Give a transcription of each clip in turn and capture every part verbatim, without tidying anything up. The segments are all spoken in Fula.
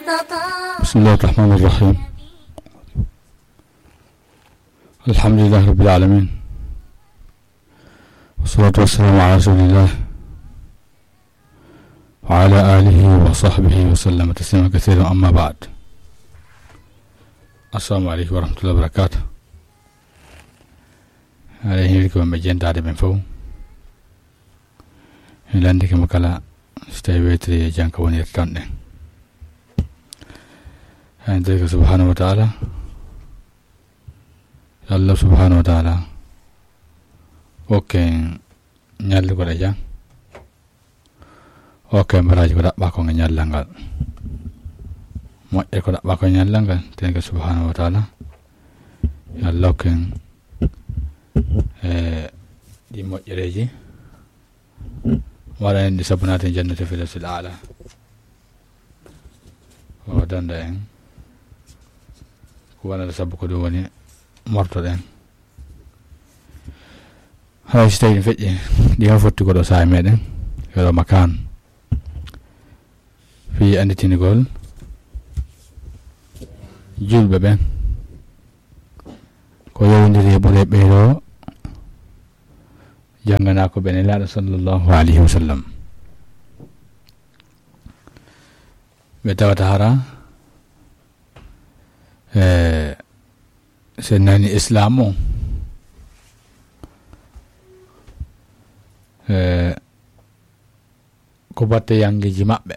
بسم الله الرحمن الرحيم. الحمد لله رب العالمين. والصلاة والسلام على رسول الله وعلى آله وصحبه وسلم تسليما كثيرا، أما بعد. السلام عليكم ورحمة الله وبركاته. Aɗa heewi ko ɓe jentaade ɓen fof. Mi lanndike mo kala, so tawi weetiri e jannga woni ton ɗen. Hay ndeke subhanahu wa ta'ala, Allah subhanahu wa ta'ala, okke en ñallugol e jam. Okke mbaraaji ko ɗaɓɓa ko e ñallal ngal. Moƴƴere ko ɗaɓɓa ko e ñallal ngal, tenke subhanahu wa ta'ala. Yo Allah okke en, e, ɗi moƴƴereeji. Waɗa en ɗi sabu naati e jannata firdawsil aala. O danda en. Ko wonata sabu ko ɗum woni mortoɗen. Hay so tawi feƴƴi, ɗi ma fotti ko ɗo saaha meɗen. Yo ɗo makan. Fii annditingol julɓe ɓen. Ko yowndiri e ɓure ɓeeɗo jannganaa ko ɓe Nelaaɗo sallallahu alayhi wa sallam. Ɓe tawata hara, e, so nani Islaam o, e, ko batte yanngeeji maɓɓe.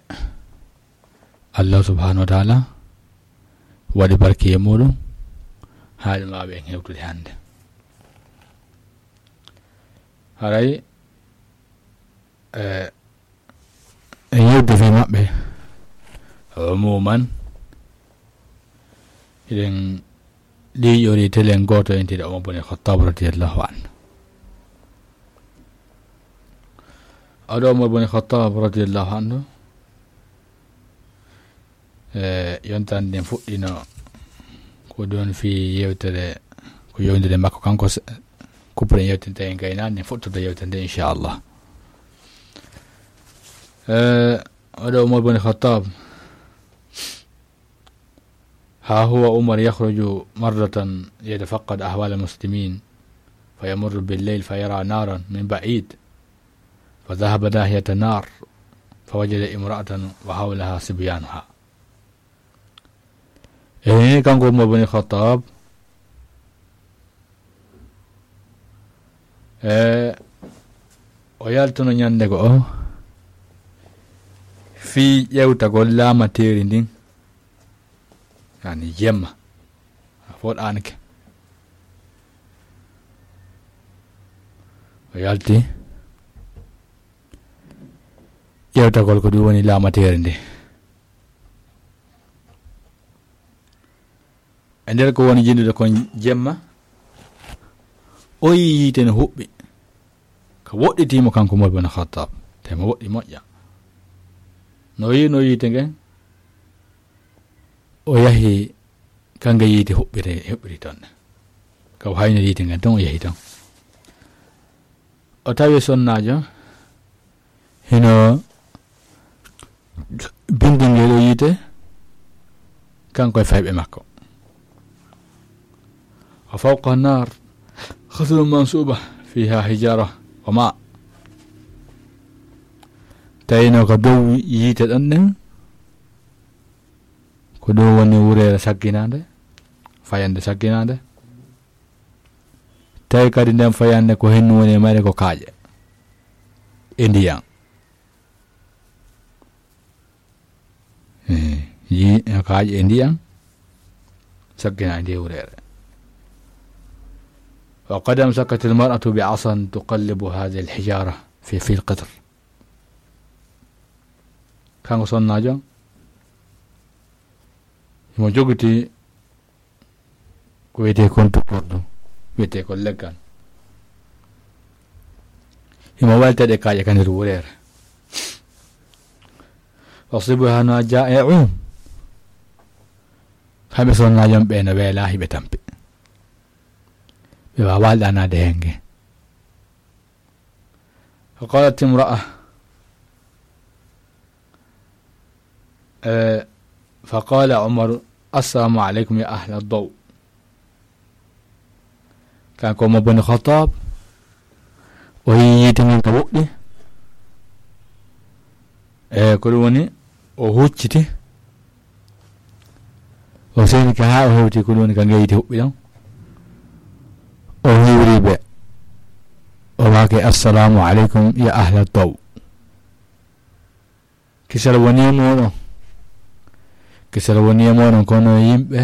Allah subhanahu wa ta'ala waɗi barke e muɗum, haa ɗum waawi en hewtude hannde. Haray, e, e yewde fii maɓɓe, umuman, eɗen ɗiiƴori telen gooto entiiɗo Umar bun Khattab radiyallahu anhu. Oɗo Umar bun Khattab radiyallahu anhu, e, yonta nden fuɗɗino ko ɗon fii yewtere, ko yewndire makko kanko se-, kuppuɗen yewtere nde en gaynaani, nden fuɗɗoto yewtere nde, inchallah. E, oɗo Umar bun Khattab, ها هو عمر يخرج مرة يتفقد أحوال المسلمين، فيمر بالليل فيرى نارا من بعيد، فذهب ناحية النار، فوجد امرأة وحولها صبيانها. E, kanko Umar bun Khattab, e, o yaltuno ñannde goo fii ƴeewtagol laamateeri ndin, yani jemma, a foɗaanke. O yalti ƴeewtagol ko ɗum woni laamateeri ndi. E nder ko woni jinndude kon jemma, o yii yiite no huɓɓi, ka woɗɗitii mo kanko Umar bun Khattab, te mo woɗɗi moƴƴa. No yii no yiite ngen, o yahi ka nge yiite huɓɓiri, huɓɓiri ton. Ka o hayni yiite ngen ton, o yahi ton. O tawi sonnaajo hino bindi ngel o yiite, kanko e fayɓe makko. وفوقها نار خصب منصوبة فيها حجارة وماء. Tawino ko dow yiite ɗon ɗen, ko ɗum woni wureere sagginaande, fayannde sagginaande. Tawi kadi nden fayannde ko hennu woni e mayre ko kaaƴe e ndiyan. Eh, yi-, kaaƴe e ndiyan saggina e nde wureere. وقد أمسكت المرأة بعصا تقلب هذه الحجارة في، في القدر. Kanko sonnaajo, himo jogiti ko wiyetee kon tukkordu, wiyetee ko leggal. Himo wayta ɗe kaaƴe ka nder wureere. وصبيانها جائعون. Kamɓe sonnaajo ɓe no weelaa, hiɓe tampi. Ɓe waawaa ɗaanaade heen nge. وقالت امرأة، e, فقال عمر: السلام عليكم يا أهل الضوء. Kanko Umar bun Khattab, o yii yiite ngen ka woɗɗi. E ko ɗum woni, o hucciti, o seni ka haa o hewti ko ɗum woni ka ngee yiite huɓɓi ɗon. O hiwri ɓe, o maaki: "Assalamu aleykum ya ahla daw." Kisal woni e mooɗon. Kisal woni e mooɗon, kono yimɓe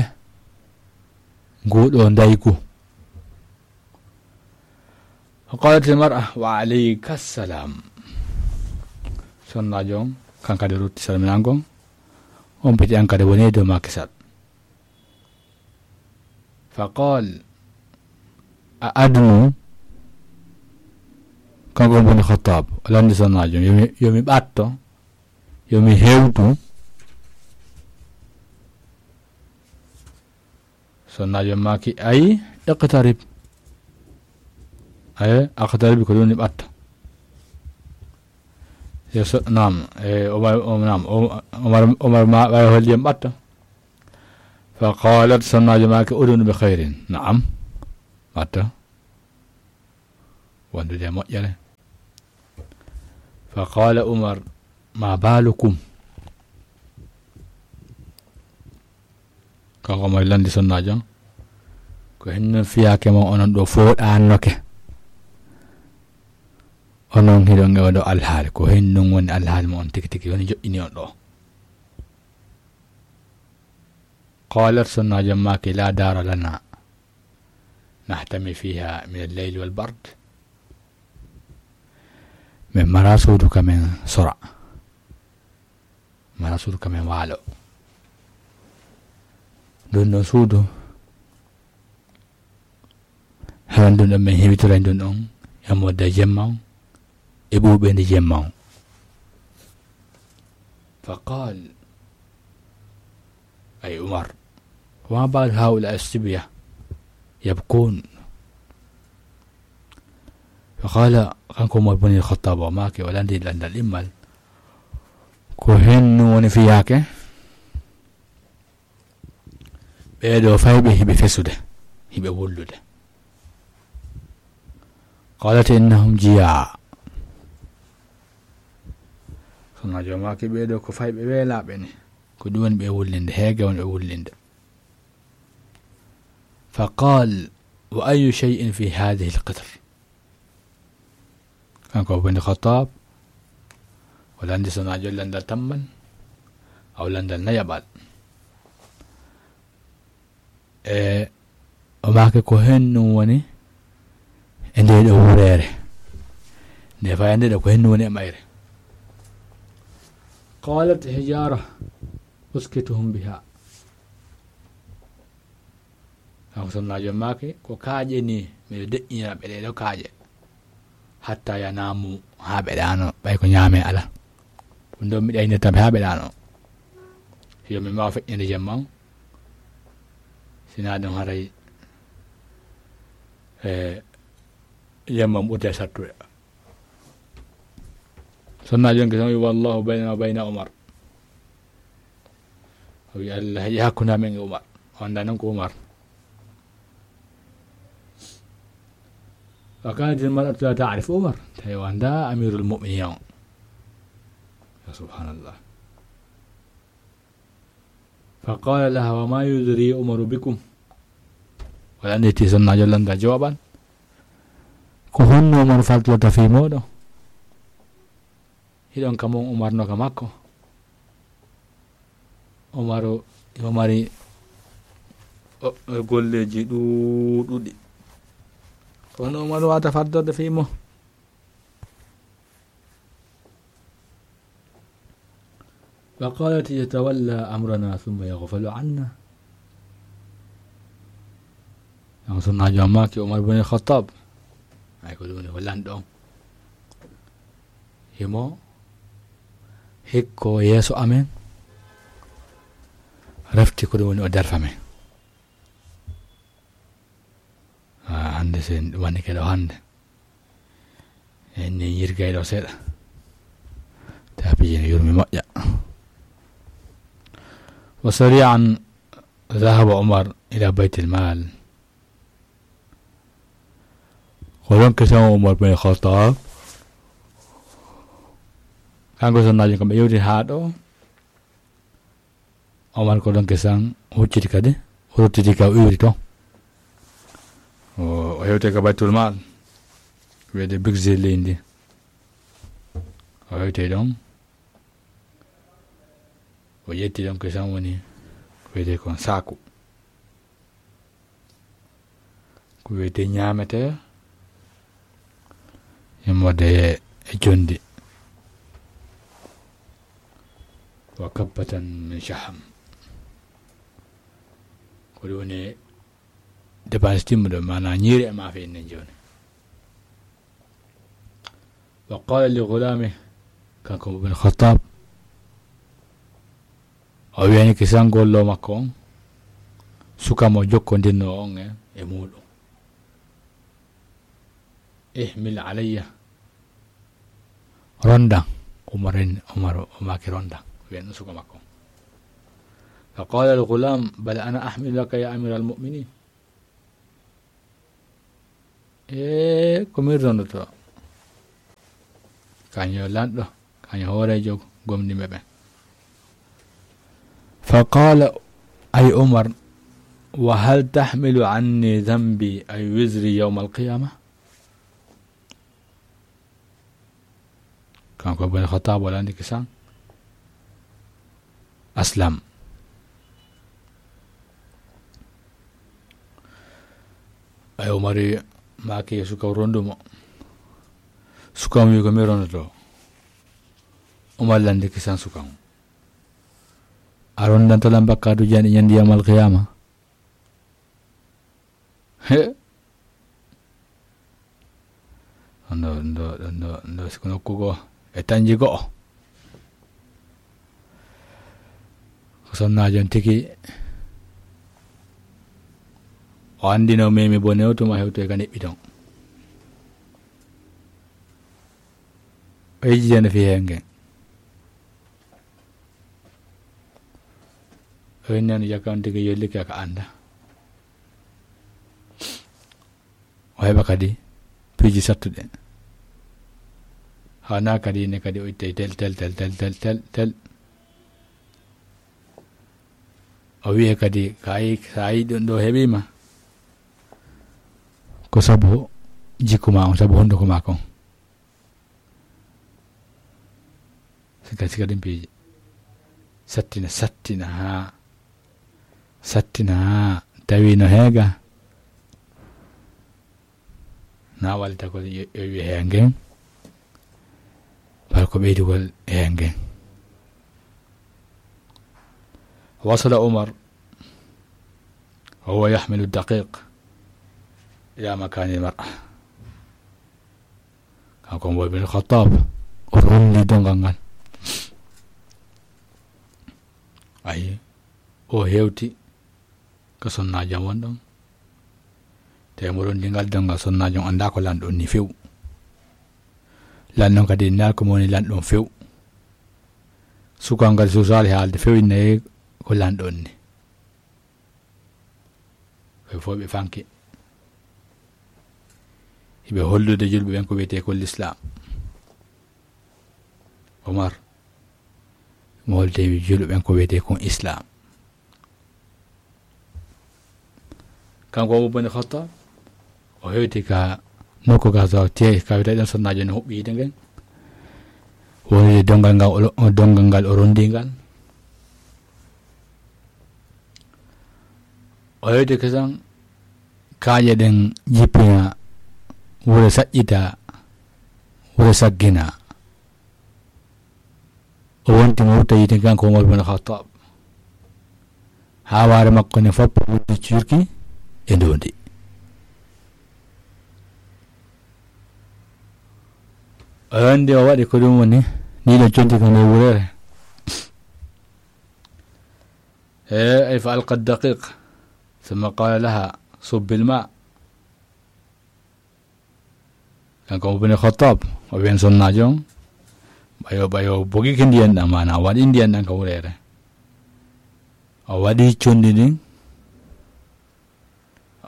nguuɗo ndaygu. Fa qalat al mar'a: "Wa alayka salam." Sonnaajo on, kan kadi rutti salminango on. On piti an kadi woni e dow ma kisal. Fa qal, a adnu, kanko Umar bun Khattab, o landi sonnaajo, yo mi, yo mi ɓatto, yo mi hewtu. Sonnaajo maaki, ay, iqtarib. Ay, aqtarib ko ɗum ni ɓatto. Yo so, naam, e, Omar, o, naam, o, Omar, Omar ma, ɓay holli en ɓatto. Fa qalat, sonnaajo maaki, udunu bi khairin. Naam. Ɓatto. Wondude e moƴƴere. Fa qala Umar, ma balukum? Kanko Umar landi sonnaajo on, ko henno fiyaake mon onon ɗo fooɗannoke? Onon hiɗon e oɗo alhaali, ko hennun woni alhaali mo on tigi tigi, woni joƴƴini on ɗo? Qalat, sonnaajo maaki, la dara lana nahtami fiha min al-layli wal bard. Min mara suudu ka min sora. Mara suudu ka min waalo. Ndun ɗon suudu, haran ndun ɗon min heɓitora ndun ɗon, e modda jemma on, e ɓuuɓe ndi jemma on. Fa qal, ay Umar, wa ma balu haula as-sibya yabkun? Fa qala, kanko Umar bun al-Khattab o maaki, o landi landal ɗimmal, ko hennu woni fiyaake? Ɓeeɗo fayɓe hiɓe fesude, hiɓe wullude. Qalat, innahum jiyaa. Sonnaajo maaki, ɓeeɗo ko fayɓe weelaaɓe ni. Ko ɗum woni ɓe wullinde, heege woni ɓe wullinde. Fa qal, wa ayu shay'in fi hadhihi al-qitr? Kanko Umar bun Khattab, o landi sonnaajo landal tammal, aw landal nayaɓal. E o maaki ko hennun woni e nde ɗo wureere. Nde fayande ɗo ko hennun woni e mayre. Qalat hijara uskituhum biha. Kanko sonnaajo maaki, ko kaaƴe ni, miɗo deƴƴinira ɓe ɗee ɗo kaaƴe. Hatta yanamu, haa ɓe ɗaano, ɓay ko ñaame ala. Ɗum ɗon miɗo aynirta ɓe haa ɓe ɗaano. Yo mi maawa feƴƴinde jemma on. Sinaa ɗum haray, e, jemma on ɓurda e sattude. Sonnaajo on ke tan wi, wallahu baynana wa bayna Umar. O wi, Allah heƴi hakkunde amen e Umar. O anndaa noon ko Umar. Wa kanat al mar'atu la ta'rifu Umar. Tawi o anndaa Amirul Mu'minin on. Ya subhanallah. Fa qala laha, wa ma yudri Umaru bikum? Wala nde ti sonnaajo landa jooban. Ko honno Umar faltorta fii mooɗon? Hiɗon ka mon Umar no ka makko. Umaru, o mari, o, o golleeji ɗuuɗuɗi. Kono Umaru wata faddorde fii mo. Wa qalat yatawalla amrana thumma yaghfalu anna. An sonnaajo on maaki Umar bin Khattab. Ay ko ɗum woni ko lanɗo on. Himo hikko yeeso amen. Refti ko ɗum woni o darfa men. Ah, hannde sen wani ke ɗo hannde. En ni yirgay ɗo seeɗa. Tapiji no yurmi moƴƴa. وسريعا ذهب عمر إلى بيت المال. Ko ɗon kesan Umar bin Khattab, kanko sonnaajo kam ɓe yewti haa ɗo. Umar ko ɗon kesan hucciti kadi, o ruttiti ka o iwri to. O, o hewte ka Baytul Mal, wiyete budget leydi ndi. O hewte ɗon, o ƴetti ɗon kesan woni ko wiyete kon saaku. Ko wiyete ñaamete, immorde e jondi. وكبة من شحم. Ko ɗum woni dépense timmuɗo, maanaa ñiiri e maafe en nen jooni. وقال لغلامه, kanko Umar bin Khattab, o wiyani kisangollo makko on, suka mo jokkondirno on e, e muuɗum. احمل علي, rondan. Umar en, Umar o maaki rondan, wiyan ɗum suka makko. فقال الغلام: بل أنا أحمل لك يا أمير المؤمنين. E ko min rondoto. Kañum lanɗo, kañum hooreejo gomɗinɓe ɓen. فقال, أي عمر: وهل تحمل عني ذنبي أي وزري يوم القيامة؟ Kanko Ibn Khattab wala ndiki san. Aslam. Ay Umar maaki suka rondumo. Suka mo wi ko mi rondoto. Umar landi kisan suka mo. A rondanto lan bakkaatu jani ñandi yawmal qiyama. He. Ndo, ndo, ndo, ndo, ndo, siko nokku goo e tanji go'o. Ko sonnaajo on tigi. O anndi no memi bone o tuma hewtoy ka neɓɓi ton. O yejjitano fi heen ngen. O innani jaka on tigi yollike ka annda. O heɓa kadi piiji sattuɗe. Haana kadi ne kadi o ittay tel, tel, tel. O wi'e kadi, ka yi, sa yi ɗum ɗo heɓima, ko sabu jikku ma on, sabu hunduko ma kon. Sika, sika ɗum piiji. Sattina, sattina haa, sattina haa tawi no heega. Na wallita ko yo, yo wi'e heega ngen. Bal ko ɓeydugol heega ngen. وصل عمر وهو يحمل الدقيق إلى مكان المرأة. Kanko Umar bin Khattab, o rondi dongal ngal. Ayi, o hewti ka sonnaajo on won ɗon. Te mo rondi ngal dongal, sonnaajo on annda ko lanɗo on ni few. Lanɗo on kadi annda ko mo woni lanɗo on few. Sukaagu ngal suusaali haalde few innaye ko lanɗo on ni. Ɓe fof ɓe fanke. Hiɓe hollude julɓe ɓen ko wiyetee kon Lislaam. Omar, mo holde julɓe ɓen ko wiyetee kon Islaam. Kanko Umar bun Khattab, o hewti ka nokku ka so te-, ka wiyetee ɗon sonnaajo no huɓɓi yiite ngen. Woni dongal ngal o, dongal ngal o rondi ngal. O hewti kesan, kaaƴe ɗen jippina, wure saƴƴita, wure saggina. O wonti mo huɓɓa yiite kanko Umar bin Khattab. Haa waare makko ne foppa wuddi cuurki e ndondi. O wonti o waɗi ko ɗum woni, ni ɗo conti ko nder wurere. E, ay fa alqa daqiq. Thumma qala laha, subbi al-ma. Kanko Umar bin Khattab, o wiyan sonnaajo on, ɓayo, ɓayo bogike ndiyan ɗan, maana waɗi ndiyan ɗan ka wurere. O waɗi conndi ndin.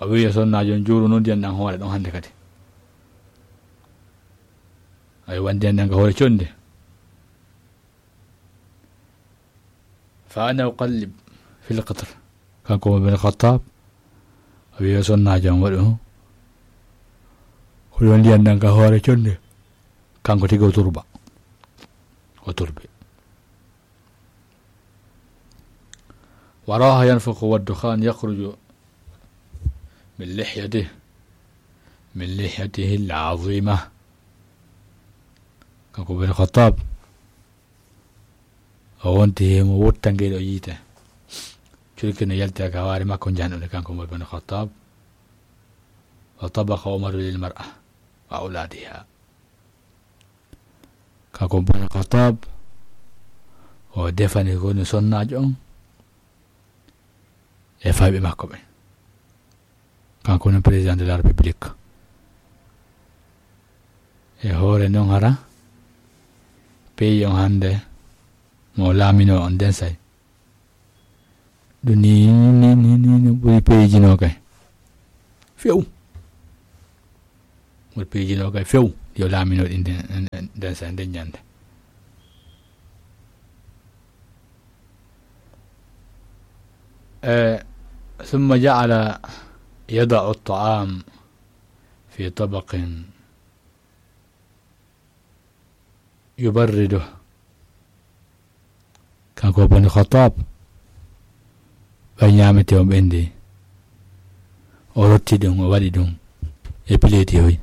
O wi'i yo sonnaajo on juuru noon ndiyan ɗan hoore ɗon hannde kadi. Ay, wa ndiyan ɗan ka hoore conndi. Fa ana uqallib fil qitr. Kanko Umar bin Khattab, o wi'i yo sonnaajo on waɗu ko ɗon ndiyan ɗan ka hoore conndi. Kanko tigi o turba. O turbi. Wa raha yanfukhu wa dukhan yakhruju min lihyatihi, min lihyatihi al-azima. Kanko Umar bin Khattab, o wonti himo wutta ngel o yiite. Curki no yalti ka waare makko njanɗude kanko Umar bin Khattab. Wa tabaqa Umaru lil mar'a wa awladiha. Kanko Umar bin Khattab, o defani ko woni sonnaajo on e fayɓe makko ɓen. Kanko woni président de la République. E hoore non hara, pays on hannde mo laamino on den say. Ɗum ni, ni, ni, ni, ni ɓuri peeji no kay. Few. Ɓuri peeji no kay few. Yo laamino ɗin den, den sa, den ñande. Eh, ثم جعل يضع الطعام في طبق يبرده. Kanko Bani Khattab, ɓay ñaamete on ɓendi, o rotti ɗum, o waɗi ɗum e pileeti hoy.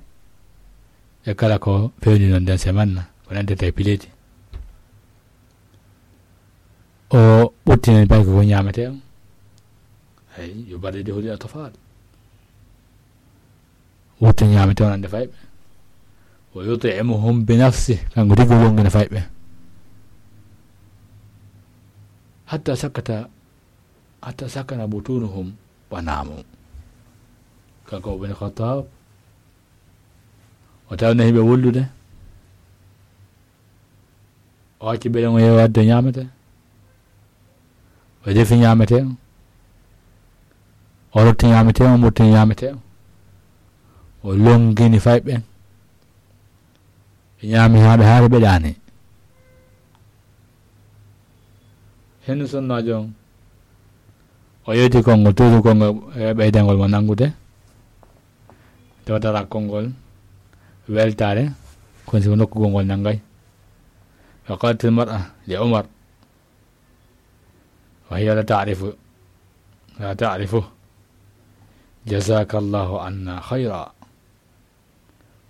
E kala ko fewndi non den semanna, ko nandata e pileeti. O ɓurtinen bay ko ñaamete on. Ay, yo barde de holi atfal. Wurto ñaamete on ande fayɓe. Wa yut'imuhum bi nafsi, kanko tigi o longina fayɓe. Hatta sakata, hatta sakana butunuhum wa namu. Kanko Umar bin Khattab, o tawna himɓe wullude. O acci beɗen o yeewa wadde ñaamete. O defi ñaamete on. O rotti ñaamete on, o murti ñaamete on. O longini fayɓe ɓen. Ɓe ñaami haa ɓe haari ɓe ɗaani. Hendu sonnaajo on. O yewti konngol, toujours konngol, e ɓeydangol mo nanngude. Tawata konngol weltaare, kono si ko nokkugol ngol nanngay. Wa qalatil mar'a li Umar, wa hiya la ta'rifu, la ta'rifu. Jazakallahu anna khayra.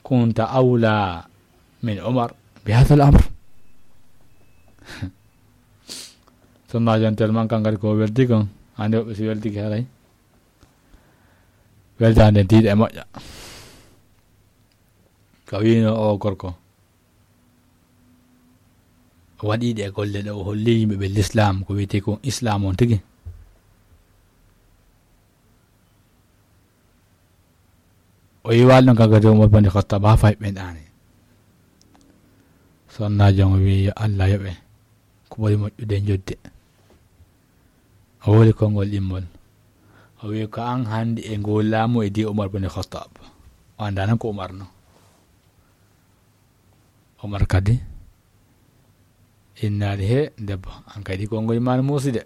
Kunta awla min Umar bi hadha al-amr. Sonnaajo on tellement kan kadi ko welti kon, hande woɓɓe si weltike haray. Weltaande tiiɗa e moƴƴa. Ka wiino o gorko. O waɗi ɗe golle ɗe, o holli yimɓe ɓe l'islam, ko wiyetee ko islam on tigi. O yiwaali ɗon kanko kadi Umar bin Khattab haa fayɓe ɓen ɗaani. Sonnaajo on o wi'i yo Allah yoɓe ko ɓuri moƴƴude e jodde. O woli konngol ɗimmol. O wi'i ko an hannde e ngol laamu e di Umar bin Khattab. O anndaa nan ko Umar no. Umar kadi innaali he debbo, an kadi konngol ma no muusi de.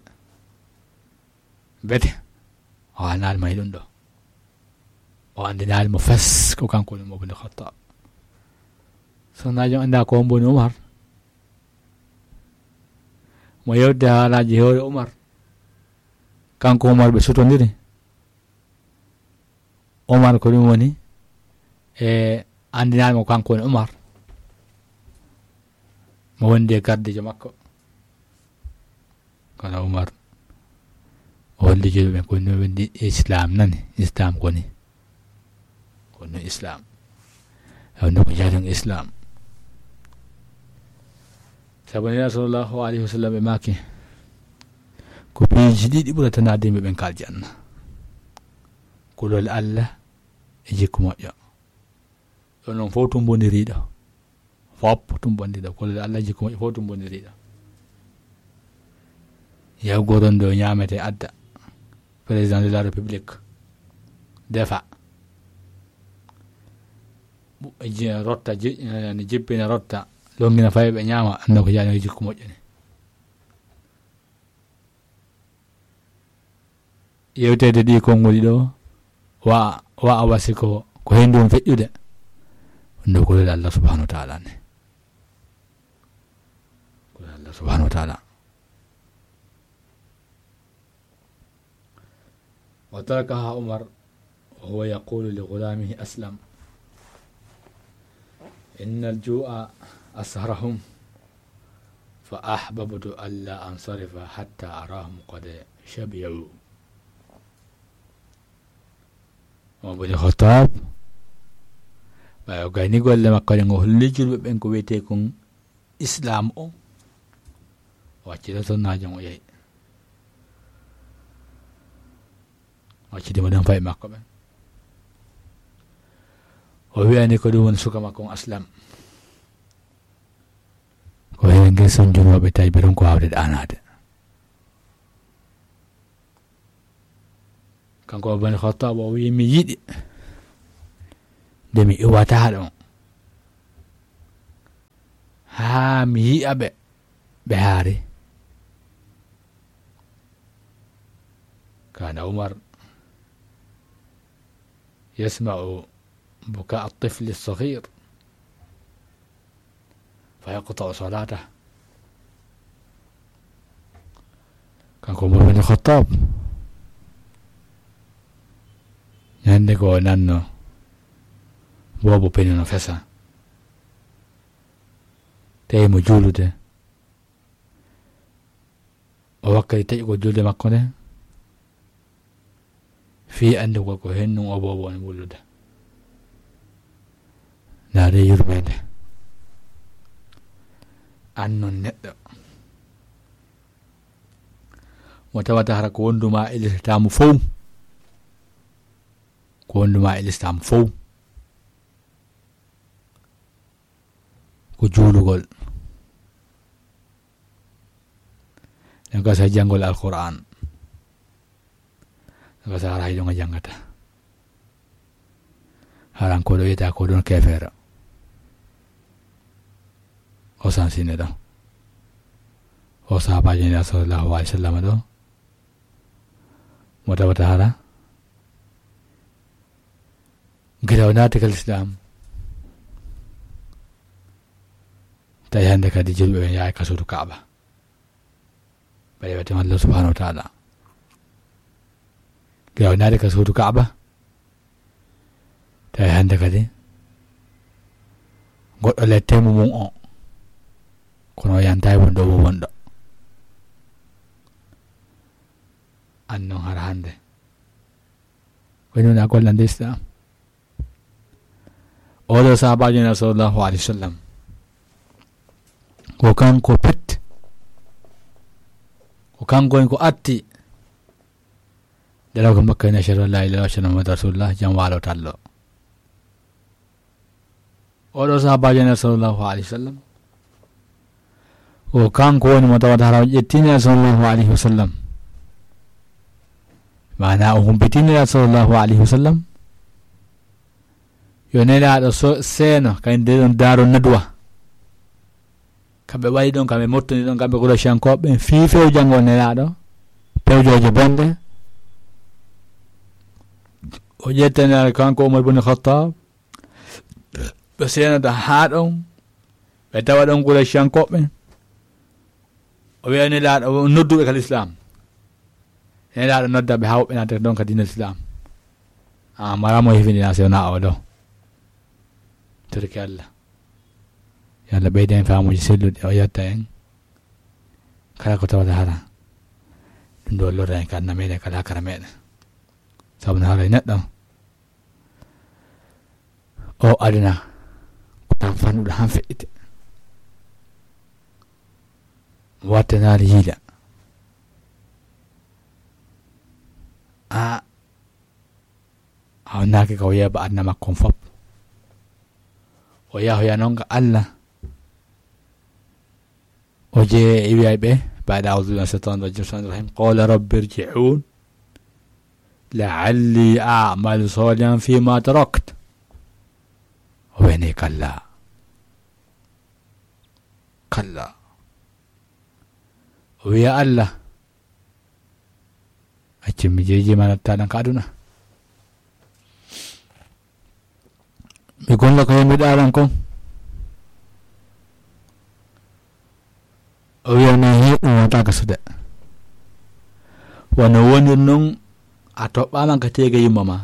Bete, o annaali ma e ɗum ɗo. O anndinaali mo fes ko kanko woni Umar bin Khattab. Sonnaajo on anndaa ko hombo woni Umar. Mo yewde haalaaji hoore Umar. Kanko Umar ɓe sutondiri. Umar ko ɗum woni e anndinaali mo kanko woni Umar. Mo wondi e gardiijo makko. Kono Umar o holli julɓe ɓen ko no wendi islam nani, islam ko ni. Ko no islam. E wonde ko jaaden islam. Sabu Nela sallallahu alayhi wa sallam ɓe maaki, ko piiji ɗiɗi ɓurata naade yimɓe ɓen ka aljanna. Kulol Allah e jikku moƴƴo. Ɗon non fof tumbondiriiɗo. Fof tumbondiriiɗo. Kulol Allah e jikku moƴƴo fof tumbondiriiɗo. Yaw goron ɗo ñaamete adda. Président de la République. Defa. Bu-, je-, rotta, je-, eh, ne jippina rotta. Longina fayɓe ñaama, annda ko jaani jikku moƴƴani. Yewteede ɗi konngol ɗiɗo, wa, wa a wasi ko, ko heen ɗum feƴƴude. Ɗum ɗo ko lel Allah subhanahu wa ta'ala ne. Ko lel Allah subhanahu wa ta'ala. وتركها عمر وهو يقول لغلامه أسلم: إن الجوع أسهرهم فأحببت ألا أنصرف حتى أراهم قد شبعوا. Umar bin Khattab, ɓay o gayni golle makko ɗen, o holli julɓe ɓen ko wiyetee kon Islaam o, o accita sonnaajo on, o yahi. O acciti mo ɗon fayɓe makko ɓen. O wi'ani ko ɗum woni suka makko on Aslam. Ko heen ngel son junooɓe tawi ɓe ɗon ko waawde ɗaanaade. Kanko Umar bin Khattab o wi'i, "Mi yiɗi nde mi iwata ɗon haa mi yi'a ɓe, ɓe haari." كان عمر يسمع بكاء الطفل الصغير فيقطع صلاته. Kanko Umar bin Khattab, ñande ko o nanno boobo peni no fesa, tawi mo juulude, o wakkati taƴugol julde makko nde, fii anndugol ko hennun o boobo on wullude. Ndaaree yurmeende. An non neɗɗo mo tawata hara ko wondu ma e lislaam fow, ko wondu ma e lislaam fow, ko juulugol. Ɗen ko sa janngol Alqur'aan. Ɗen ko sa hara hay ɗon a janngata. Haran ko ɗo wiyata ko ɗon keefeero. O sansine ɗo. O sahabaajo Nulaaɗo sallallahu alaihi wasallam ɗo. Mo tawata hara gila o naati ka lislaam. Tawi hannde kadi julɓe ɓen yahay ka suudu Kaaba. Ɓay wiyete Allah subhanahu wa ta'ala. Gila o naati ka suudu Kaaba. Tawi hannde kadi goɗɗo lettemu mum o. Kono o yantaay wonɗo mo wonɗo. An non hara hannde. Ko woni wona gollande Islam. Oɗo sahabaajo Nulaaɗo sallallahu alaihi wasallam. Ko kanko pet. Ko kanko woni ko atti. Dara ko Makka ni, "Ashhadu an la ilaha illallah, ashhadu anna Muhammadan rasulullah," jam waalo tallo. Oɗo sahabaajo Nulaaɗo sallallahu alaihi wasallam. Ko kanko woni mo tawata hara o ƴettini sallallahu alaihi wasallam. Maana o humpitini sallallahu alaihi wasallam. Yo Nelaaɗo so-, seeno, kadi nde ɗon Daaru Nadwa. Kamɓe waɗi ɗon, kamɓe mottoni ɗon, kamɓe Qurayshankooɓe, fii few janngo Nelaaɗo, pewjooje bonɗe. O ƴettani kanko Umar bin Khattab, ɓe seenata haa ɗon, ɓe tawa ɗon Qurayshankooɓe. O wi'a Nelaaɗo, o nodduɓe ka lislaam. Nelaaɗo nodda ɓe haa woɓɓe naata ɗon ka diina lislaam. A mara mo hifini na sewna o ɗo. Torki Allah. Yo Allah ɓeydu en faamuuji selluɗi, o yetta en. Kala ko tawata hara. Ɗum ɗo lorra en ka aduna meɗen, ka laakara meɗen. Sabu no hara e neɗɗo. O aduna ko tan fannuɗo han feƴƴite. Wattanaali yiila. A hawnaaki ka o yeeba aduna makko on fop. O yahoya noon ka Allah. O jeye e wi'ay ɓe, بعد أعوذ بالله من الشيطان الرجيم، بسم الله الرحمن الرحيم، قال رب ارجعون لعلي أعمل صالحا فيما تركت. O wi'ani kalla. Kalla. O wi'a Allah, accu mi jeeji ma natta ɗan ka aduna. Mi golla ko yimɓe ɗaɗan kon. O wiya, "Non, he ɗum wata gasude." Wano wonir non, a toɓɓaama ka teege yumma ma.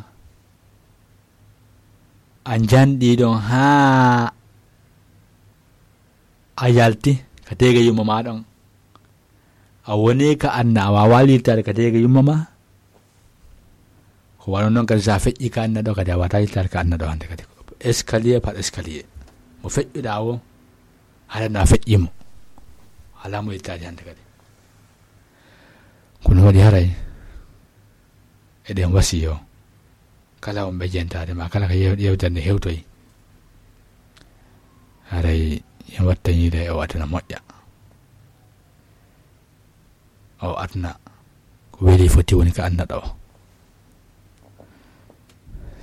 A njanɗi ɗon haa a yalti ka teege yumma ma ɗon. A woni ka anna, a waawaa yiltaade ka teege yumma ma. Ko wano non kadi, so a feƴƴi ka anna ɗo, kadi a waawataa yiltaade ka anna ɗo hannde kadi. Escalier par escalier. Mo feƴƴuɗaa o, haɗa no a feƴƴi mo. Alaa mo yiltaade hannde kadi. Kono waɗi haray eɗen wasiyo kala on ɓe jentaade ma, kala ka yew-, yewtere nde hewtoyi, haray en wattaniide o aduna moƴƴa. O aduna ko weli foti woni ka anna ɗo.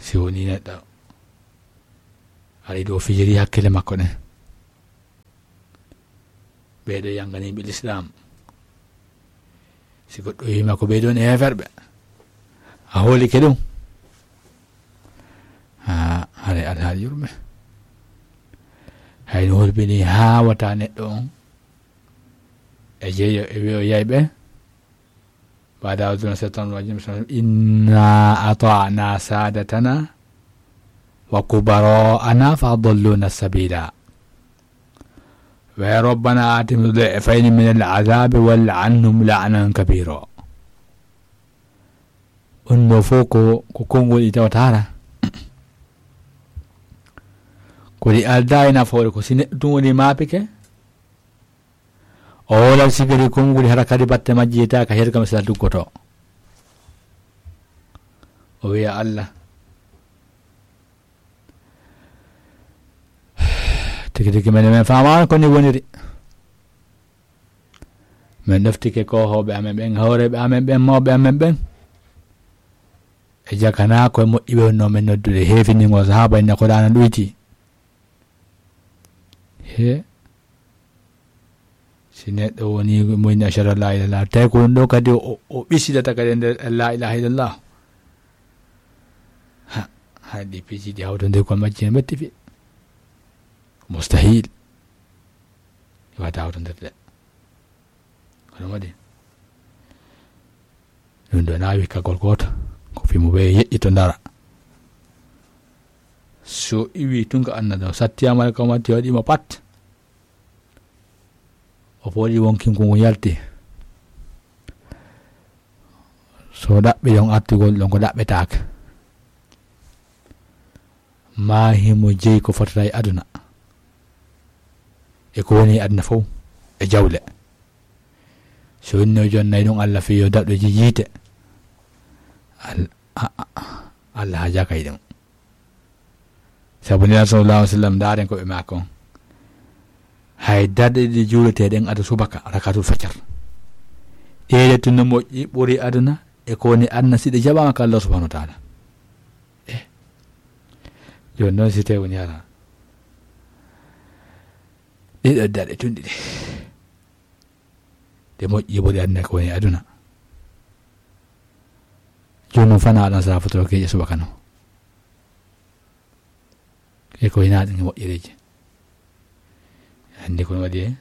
Si woni neɗɗo ari ɗo fijiri hakkille makko ɗen, ɓee ɗo yanganiiɓe Lislaam. Si goɗɗo wi'i ma ko ɓee ɗon e heeferɓe, a hoolike ɗum. Haa, haray Alhaali yurme. Hay no hulɓini haa wata neɗɗo on e jeeyo e wi'o yayɓe. بعد أعوذ بالله من الشيطان الرجيم. بسم الله. إنا أطعنا سادتنا وكبراءنا فأضلونا السبيلا. ويا ربنا آتهم ضعفين من العذاب والعنهم لعنا كبيرا. Ɗun ɗoo fow ko, ko konngol ɗi tawata hara. Ko ɗi aldaa e nafoore, ko si neɗɗo tun woni maapike, o woolat sigiri konnguli, hara kadi batte majji yetaaka, her kam sila duggotoo. O wi'a Allah, tigi tigi menen men faamaano ko ni woniri. Men ɗoftike koohooɓe amen ɓen, hooreeɓe amen ɓen, mawɓe amen ɓen. E jakanaa ko e moƴƴi ɓe wonnoo men noddude, heefiningol sahaaba en, ko ɗaana ɗuyti. He. Si neɗɗo woni mo inni ashhadu an laa ilaaha illallah, tawi ko ɗum ɗo kadi o, o ɓisidata kadi e nder laa ilaaha illallah. Ha, hay ɗi piiji ɗi hawtondirgol majji no metti fi. Mustahil. Wata hawtondirde. Kono waɗi. Ɗum ɗo na wikkagol gooto. Ko fimo ɓe yeƴƴito ndara. So iwi tun ka anna ɗo, sattiyaama ka matti waɗi mo pat. O fooɗi wonkin ko ngun yalti. So ɗaɓɓi ɗon artugol ɗon ko ɗaɓɓetaake. Maa himo jeyi ko fotata e aduna. E ko woni e aduna fow. E jawle. So winno jonnay ɗum Allah fii yo daɗɗo ji-, jiite. Al-, a-, a-, Allah haajaaka e ɗum. Sabu Nelaaɗo sallallahu alaihi wasallam, ndaaren ko ɓe maaki on. Hay darɗe ɗiɗi juuleteeɗen ado subaka, rakatul fajar. Ɗeeɗe tun no moƴƴi, ɓuri aduna, e ko woni aduna si ɗe jaɓaama ka Allah subhanahu wa ta'ala. Eh. Jooni noon si tawi woni hara. Ɗeɗo darɗe tun ɗiɗi. Ɗe moƴƴi ɓuri aduna ko woni aduna. Jooni noon fana aɗan sara fotoro keeƴe subaka no. E ko hina ɗum moƴƴereeji. Anndi ko no waɗi e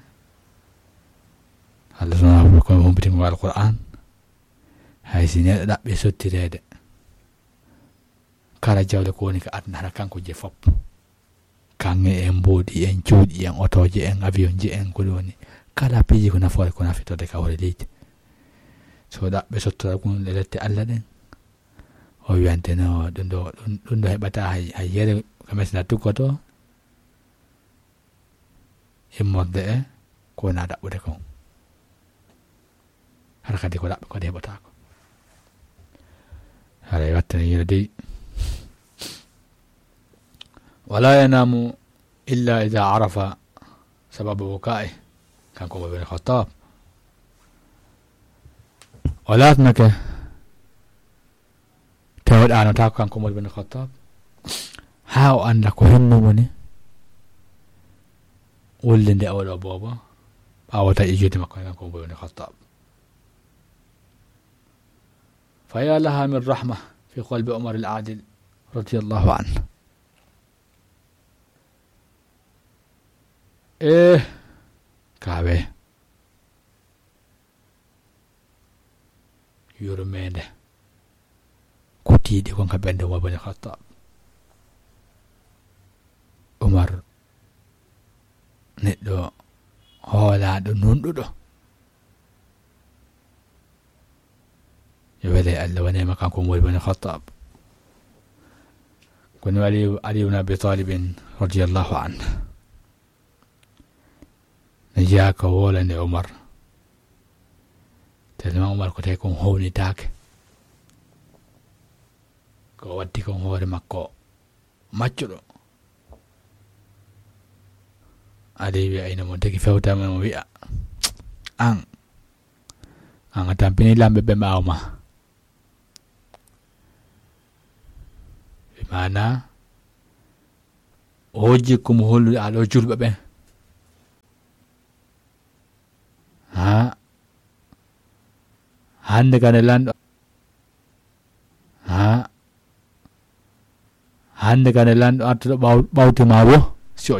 Allah subhanahu wa ta'ala ko humpitingol Alqur'an. Hay si neɗɗo ɗaɓɓi sottireede. Kala jawle ko woni ka aduna hara kanko je fop. Kaŋŋe en, mboodi en, cuuɗi en, otooje en, avion je en, ko ɗum woni. Kala piiji ko nafoore ko nafitorde ka hoore leydi. So ɗaɓɓe sottora ɗum e lette Allah ɗen. O wiyante no ɗum ɗo, ɗum, ɗum ɗo heɓata hay, hay yere ka mesna tuggoto. Immorde e ko wona ɗaɓɓude kon. Hara kadi ko ɗaɓɓe kadi heɓataako. Haray wattani yino dey. Wala yanamu illa ida arafa sababa bukai. Kanko Umar bin Khattab. O laatnake tawa ɗaanotaako kanko Umar bin Khattab, haa o annda ko hinno woni wullinde oɗo boobo, ɓaawo taƴi juuɗe makko kanko Umar bin Khattab. Fa ya laha min rahma fi qalbi Umar al-adil radiyallahu anhu. Eh, kaawe. Yurmeende. Ko tiiɗi kon ka ɓernde Umar bin Khattab. Umar, neɗɗo hoolaaɗo, nunɗuɗo. Yo wele Allah wonema kanko Umar bin Khattab. Kono Ali, Ali ibn Abi Talib radiyallahu anhu. Ne jeyaa ko wolande Umar. Tellement Umar ko tawi kon hownitaake. Ko watti kon hoore makko maccuɗo. Aɗa wiya ina mo tigi fewtama mo wiya, "An, an a tampini lamɓe ɓe ɓaawo ma." Ɓe maana, o jikku mo hollude aɗo julɓe ɓen. Ha, hannde kane lanɗo, ha, hannde kane lanɗo artuɗo ɓaw-, ɓawti ma wo, si o